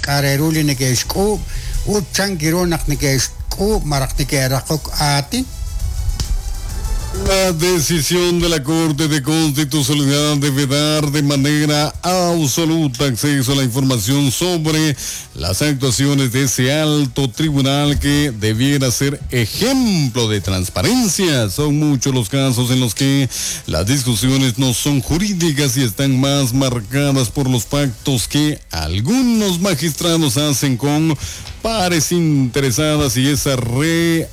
k'a' re ru li neke'xk'uub' ut chan ru naq neke'xk'uub' malaj neke'raqok aatin. La decisión de la Corte de Constitucionalidad debe dar de manera absoluta acceso a la información sobre las actuaciones de ese alto tribunal que debiera ser ejemplo de transparencia. Son muchos los casos en los que las discusiones no son jurídicas y están más marcadas por los pactos que algunos magistrados hacen con pares interesadas y esa realidad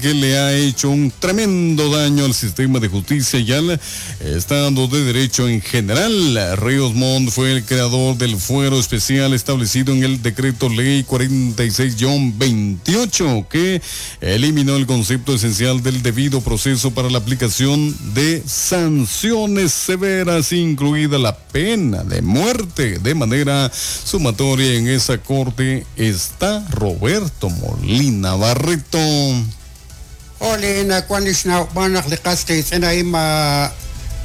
que le ha hecho un tremendo daño al sistema de justicia y al Estado de Derecho en general. Ríos Montt fue el creador del fuero especial establecido en el decreto ley 46-28 que eliminó el concepto esencial del debido proceso para la aplicación de sanciones severas, incluida la pena de muerte. De manera sumatoria en esa corte está Roberto Molina Barreto. Ole nawank li xnawb'al naq li qas qiitz'in a'in ma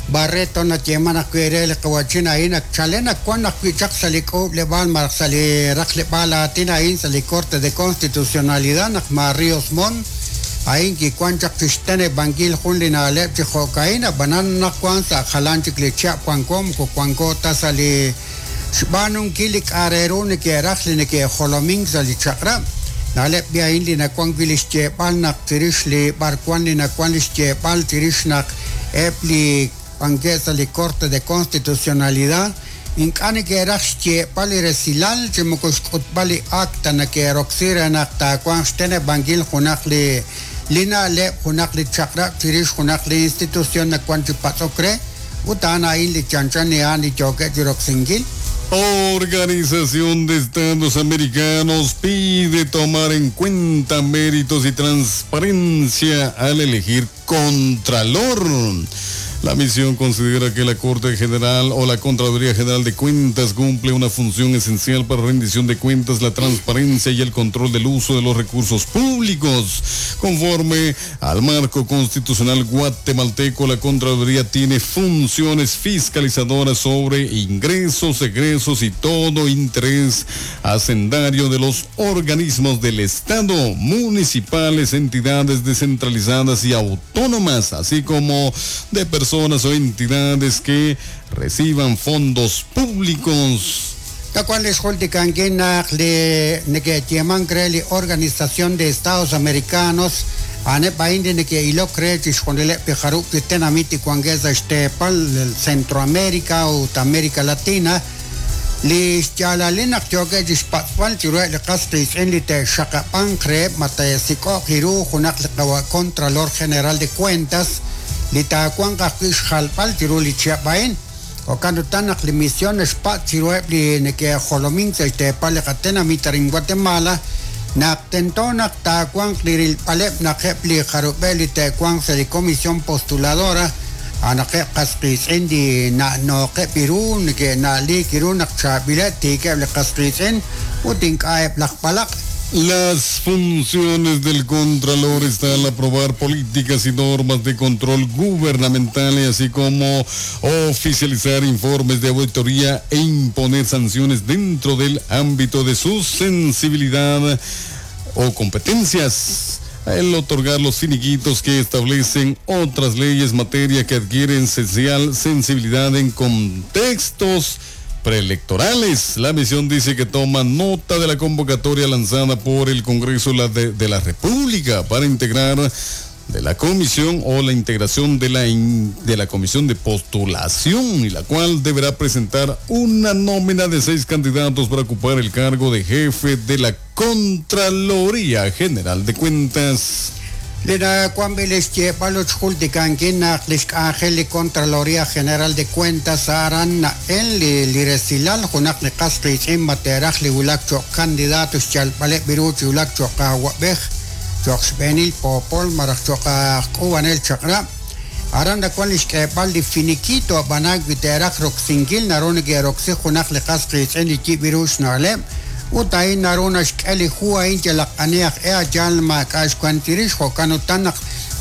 Barreto nayeeman ajwi' re li qawa'chin a'in ak chalen ak wan ajwi' chaq sa' li k'uub'leb'aal malaj sa' li raqleb'aal aatin a'in sa' li Corte de Constitucionalidad naq ma Ríos Montt a'in kiwan chaq chi xteneb'ankil jun li na'leb' chi jo'ka'in ab'anan naq wan sa' jalan chik li chihab' wanko moko wanko ta sa' li xb'aanunkil li k'a' re ru neke'raj li neke'jolomink sa' li chaq'rab'. Na'leb' b'i a'in li nawan wi' li xyeeb'al naq chirix li b'arwan li nawan li xyeeb'al chirix naq eb' li wankeb' sa' li Corte de Constitucionalidad ink'a' neke'raj xyeeb'al li resilal chi moko xk'utb'al li acta neke'roksi re naq taawanq xteneb'ankil junaq li li na'leb' junaq li chaq'rab' chirix junaq li institución nawan chi patz'ok re ut a'an a'in li chanchan li a'an li yookeb' chi roksinkil. Organización de Estados Americanos pide tomar en cuenta méritos y transparencia al elegir contralor. La misión considera que la Corte General o la Contraloría General de Cuentas cumple una función esencial para rendición de cuentas, la transparencia y el control del uso de los recursos públicos. Conforme al marco constitucional guatemalteco, la Contraloría tiene funciones fiscalizadoras sobre ingresos, egresos y todo interés hacendario de los organismos del Estado, municipales, entidades descentralizadas y autónomas, así como de personas o entidades que reciban fondos públicos. Tacual li xjultikankil naq li neke'yeemank re li Organización de Estados Americanos a'aneb' a'in li neke'ilok re chixjunileb' li jarub' chi tenamit li wankeb' sa' xteepal Centroamérica ut América Latina li xyaalalil naq yookeb' chi xpatz'b'al chiruheb' li qas qiitz'in li te'xaqab'anq reheb' ma te'sik'o'q ru junaq li qawa' Contralor General de Cuentas li taawanq ajwi' xjalb'al chiru li chihab' a'in. Jo'kan utan naq li misión xpatz' chiruheb' li neke'jolomink sa' xteepal li qatenamit arin Guatemala naq tento naq taawanq li rilb'aleb' naq eb' li jarub'eb' li te'wanq sa' li comisión postuladora a'anaqeb' qas qiitz'in li na'nooqeb' ru neke'na'liik ru naq chaab'ileb' tiikeb' li qas qiitz'in ut ink'a' eb' laj b'alaq'. Las funciones del Contralor están al aprobar políticas y normas de control gubernamental, así como oficializar informes de auditoría e imponer sanciones dentro del ámbito de su sensibilidad o competencias. El otorgar los finiquitos que establecen otras leyes, materia que adquieren esencial sensibilidad en contextos preelectorales. La misión dice que toma nota de la convocatoria lanzada por el Congreso de la República para integrar de la comisión o la integración de la comisión de postulación, y la cual deberá presentar una nómina de 6 candidatos para ocupar el cargo de jefe de la Contraloría General de Cuentas. Li nawanb'il li xyeeb'al ut xjultikankil naq li xk'anjel li Contraloría General de Cuentas aran na'el li li resilal junaq li qas qiitz'in ma te'raj li wulak cho'q candidato xyalb'aleb' ru chi wulak cho'q awab'ej cho'q xb'eenil poopol malaj cho'q aj k'uub'anel chaq'rab'. Aran nawan li xk'eeb'al li finiquito ab'anan wi te'raj roksinkil naru neke'roksi junaq li qas qiitz'in li yib' ru xna'leb' ut a'in naru naxk'e li hu a'in yalaq ani aj e ayal maak'a' xwan chirix jo'kan utan naq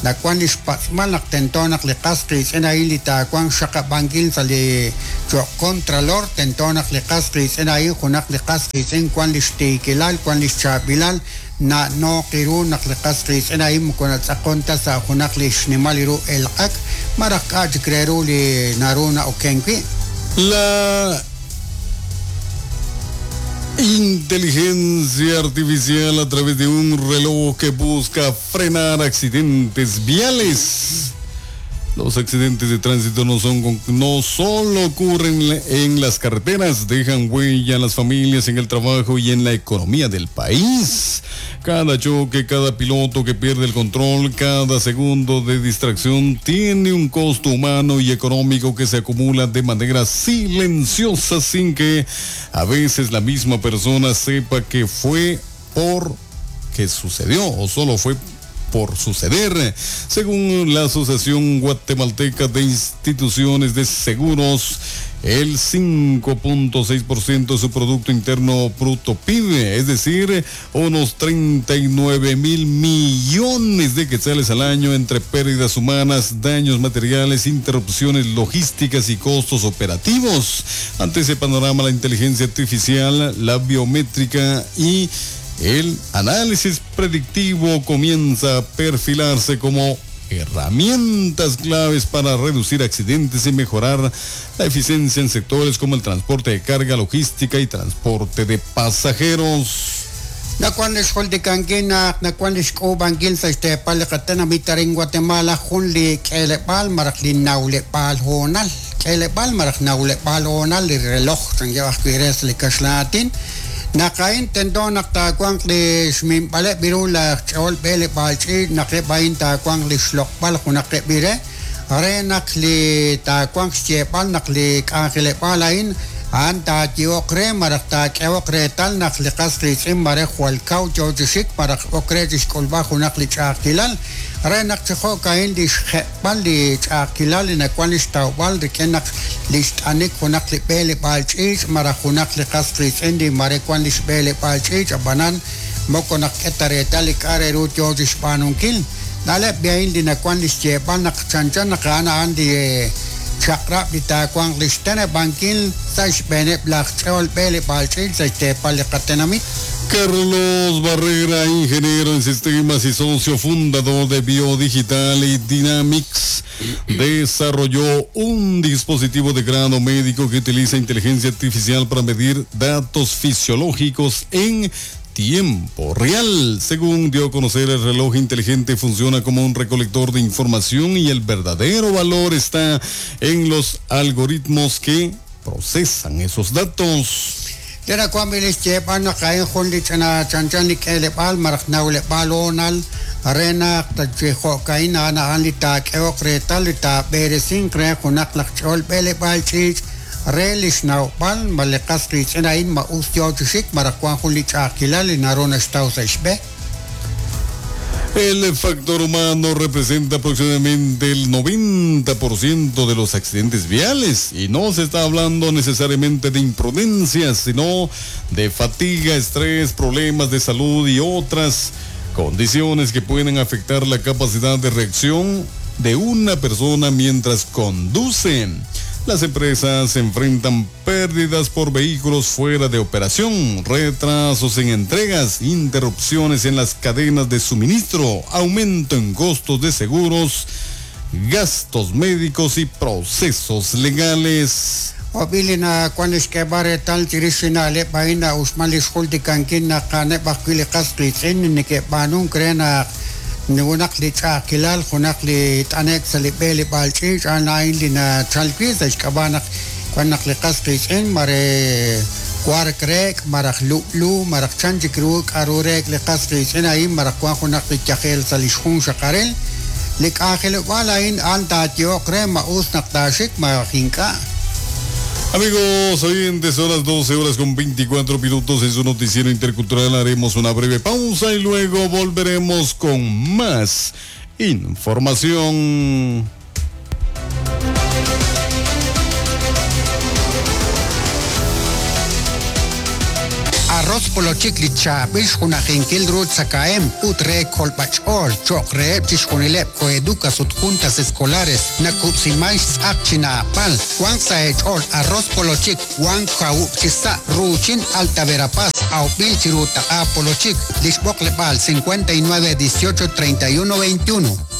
Nawan li xpatz'b'al naq tento naq li qas qiitz'in a'in li taawanq xxaqab'ankil sa' li cho'q contralor tento naq li qas qiitz'in a'in junaq li qas qiitz'in wan li xtiikilal wan li xchaab'ilal na'nooq ru naq li qas qiitz'in a'in moko natz'aqon ta sa' junaq li xnimal ru elq'ak malaj k'a' chik re ru li naru na'oken wi'. La inteligencia artificial a través de un reloj que busca frenar accidentes viales. Los accidentes de tránsito no son no solo ocurren en las carreteras, dejan huella en las familias, en el trabajo y en la economía del país. Cada choque, cada piloto que pierde el control, cada segundo de distracción tiene un costo humano y económico que se acumula de manera silenciosa sin que a veces la misma persona sepa que fue por que sucedió o solo fue por suceder. Según la Asociación Guatemalteca de Instituciones de Seguros, el 5.6% de su Producto Interno Bruto PIB, es decir, unos 39 mil millones de quetzales al año entre pérdidas humanas, daños materiales, interrupciones logísticas y costos operativos. Ante ese panorama, la inteligencia artificial, la biométrica y el análisis predictivo comienza a perfilarse como herramientas claves para reducir accidentes y mejorar la eficiencia en sectores como el transporte de carga, logística y transporte de pasajeros. Nakuan lixjultikankil naq nakuan lixk'uub'ankil sa' xteepal li qatenamit arin Guatemala jun li k'eeleb'aal malaj li nawleb'aal hoonal k'eeleb'aal malaj nawleb'aal hoonal li reloj chankeb' ajwi' re sa' li kaxlan aatin naq a'in tento naq taawanq li xminb'aleb' ru laj ch'ool b'eleb'aal ch'iich' naq eb' a'in taawanq li xloq'b'al junaq eb' re re naq li taawanq xyeeb'al naq li k'anjeleb'aal a'in a'an taayehoq re malaj taak'ehoq reetal naq li qas qiitz'in mare jwal kaw yo chi xik malaj ok re chixk'ulb'al junaq li ch'a'ajkilal re naq chi jo'ka'in li xjeb'al li ch'a'ajkilal li nawan li xtawb'al rik'in naq li xt'anik junaq li b'eleb'aal ch'iich' malaj junaq li qas qiitz'in li mare wan li xb'eleb'aal ch'iich' ab'anan moko naq k'e ta reetal li k'a' re ru yo chi xb'aanunkil na'leb' a'in li nawan li xyeeb'al naq chanchan naq a'an a'an li chaq'rab' li taawanq li xteneb'ankil sa' xb'eeneb' laj ch'ool b'eleb'aal ch'iich' sa' xteepal li qatenamit. Carlos Barrera, ingeniero en sistemas y socio fundador de Biodigital y Dynamics, desarrolló un dispositivo de grado médico que utiliza inteligencia artificial para medir datos fisiológicos en tiempo real. Según dio a conocer, el reloj inteligente funciona como un recolector de información y el verdadero valor está en los algoritmos que procesan esos datos. Lena kuan li xyeeb'al naq a'in jun li ch'ina chanchan li k'eeleb'aal malaj nawleb'aal hoonal re naq chi jo'ka'in a'an a'an li taak'ehoq reetal li taab'eresinq re junaq laj ch'ool b'eleb'aal ch'iich' re li xnawb'al ma li qas qiitz'in a'in ma us yo chi xik malaj wan jun li ch'a'ajkilal li naru naxtaw sa' xb'e. El factor humano representa aproximadamente el 90% de los accidentes viales y no se está hablando necesariamente de imprudencias, sino de fatiga, estrés, problemas de salud y otras condiciones que pueden afectar la capacidad de reacción de una persona mientras conduce. Las empresas enfrentan pérdidas por vehículos fuera de operación, retrasos en entregas, interrupciones en las cadenas de suministro, aumento en costos de seguros, gastos médicos y procesos legales. Obili na kuan xk'eeb'al reetal chirix li na'leb' a'in na'uxman li xjultikankil naq a'aneb' ajwi' li qas qiitz'in neke'b'aanunk re naq junaq li ch'a'ajkilal junaq li t'anek sa' li b'eleb'aal ch'iich' a'an a'in li nachal wi' sa' xk'ab'a' naq wan naq li qas qiitz'in mare wark reek' malaj lu'lu malaj chan chik ru k'a'ru reek' li qas qiitz'in a'in malaj wan junaq li yajel sa' li xjun xaqarel li k'anjelob'aal a'in a'an taayehoq re ma us naq taaxik malaj ink'a'. Amigos oyentes, son las 12:24 en su noticiero intercultural. Haremos una breve pausa y luego volveremos con más información. Arroz Polochik li chaab'il xjunajinkil ru tzakahemq ut re kolb'ach'ool cho'q reheb' chixjunileb' coeducas ut juntas escolares nakub'siman xtz'aq chi naab'al. Wanq sa' eech'ool Arroz Polochik wank kawub' chi sa' ruuchin Alta Verapaz awb'il chiru taq'a Polochik li xb'oqleb'aal 59 18 31 21.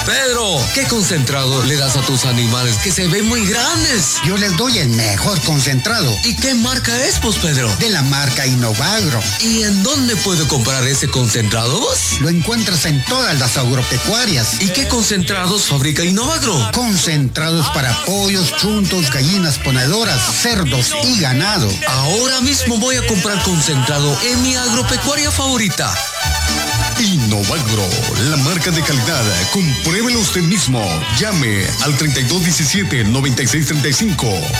Pedro, ¿qué concentrado le das a tus animales que se ven muy grandes? Yo les doy el mejor concentrado. ¿Y qué marca es, pues, Pedro? De la marca Innovagro. ¿Y en dónde puedo comprar ese concentrado vos? Lo encuentras en todas las agropecuarias. ¿Y qué concentrados fabrica Innovagro? Concentrados para pollos, chuntos, gallinas ponedoras, cerdos y ganado. Ahora mismo voy a comprar concentrado en mi agropecuaria favorita. Innovagro, la marca de calidad. Compruébelo usted mismo. Llame al 3217-9635.